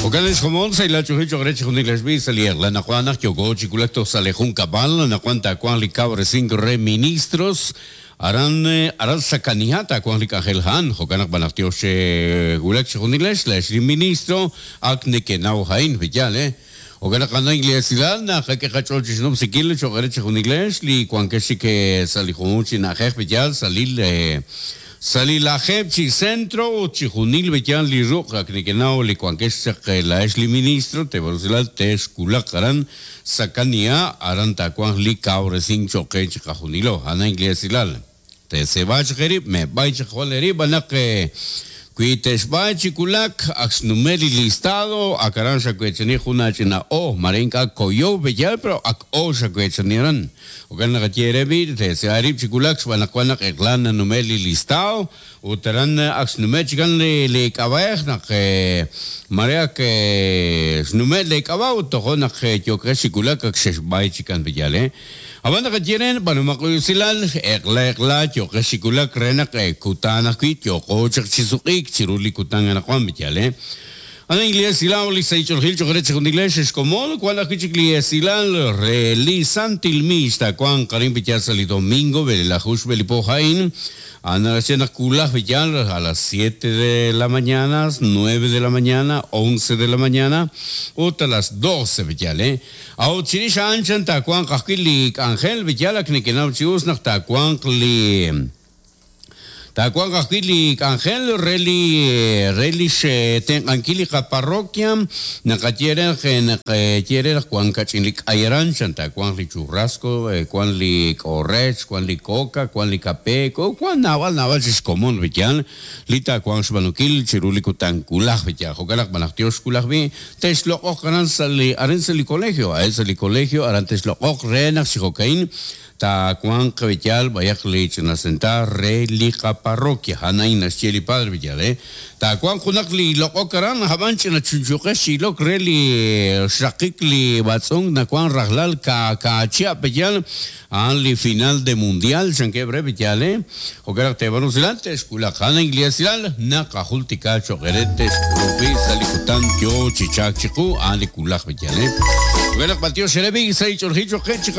Jo'kan ex komon, sa' ilal ch'och'il cho'q re chixjunil ex b'i' sa' li eq'la naqwan naq yooko chi wulak toj sa' li junkab'al, anaqwan taawanq li kawresink re ministros, aran aran Sakaniha taawanq li k'anjel a'an, jo'kan naq b'anaq tiox wulak chixjunilex, laa'ex li ministro ak nekenaw a'in, pe'yaal eh? Jo'kan naq a'an li esilal naqak'e qach'ool chi xnumsinkil cho'q re chixjunilex li wankex chik sa' li junjunq chi na'ajej, pe'yaal sa' li Sa' li lajeeb' chi centro ut chi junil b'eyal li ruq' ak nekenaw li wankex chaq laa'ex li ministro te rusilal texwulaq aran Sakania aran taawanq li kawresink cho'q qe chiqajunilo. A'an a'in li esilal. Teeseeb'a chaq eerib', meeb'ay chaq jwal eerib' b'an naq wi texb'ay chi wulak ak xnume' li listado ak aran xaweechani jun aach'ina o mare ink'a' koyow b'eyal pero ak o xaweechani aran. Jo'kan naq ye eere b'i', teesea eerib' chi wulak xb'aan naq wan naq eq'la nanume' li listado ut aran ak xnume' chikan lee k'ab'a'ej naq mare ak xnume' lee k'ab'a' ut tojo' naq yookex chi wulak ak xexb'ay chikan pe'yaal eh. Ab'an naqaye re b'aanumaq usilal eq'la eq'la yooqex chi wulak re naq kutan ajwi' yooqo chaq chi suq'iik chiru li kutan anaqwan pe'yaal eh. A'an li esilal li sahil ch'oolejil cho'q re chixjunilex ex komon, wan ajwi' chik li esilal re li Santil Miix taawanq arin Piyal sa' li domingo b'elelaju xb'e li po a'in. A'an naxye naq wulaj Piyal a las siete de la mañana, nueve de la mañana, once de la mañana ut a las doce Piyal eh. A'ut chirix a'an chan taawanq ajwi' li k'anjel Piyal ak nekenaw chi us naq taawanq li Taawanq ajwi' li k'anjel re li re lix tenq'ankil li qaparroquia, naqaye re naq naqaye re naq wan kach'in li k'ay aran, chan taawanq li churrasco, wan li k'orech, wan li coca, wan li kape, wan naab'al naab'al chi xkomon wi yaal li taawanq xb'aanunkil chiru li kutan wulaj wi yaal. Jo'kan naq b'anaq tiox wulaj b'i' texloq'oq aran sa' li aran sa' li colegio, aran sa' li colegio aran texloq'oq re naq chi jo'ka'in Taawanq b'eyal b'ayaq li ch'ina sentaar re li qaparroquia. A'an a'in naxye li padre b'eyal, eh. Taawanq junaq li loq'ok aran, ab'an ch'ina chunchuqex chi ilok re li xraqik li b'atz'unk nawank rajlal kaachihab' b'eyal, a'an li final de mundial chankeb' re b'eyal, eh. Jo'kan naq teeb'aanu usilal, te'xk'ulaq. A'an a'in li esilal naqajultika cho'q eere te'xk'ulub'i sa' li kutan yoo chi chalk chiqu, a'an li wulaj b'eyal, eh. Jo'kan naq b'antiox eere b'i' sa' li ch'oolejil cho'q qe chi.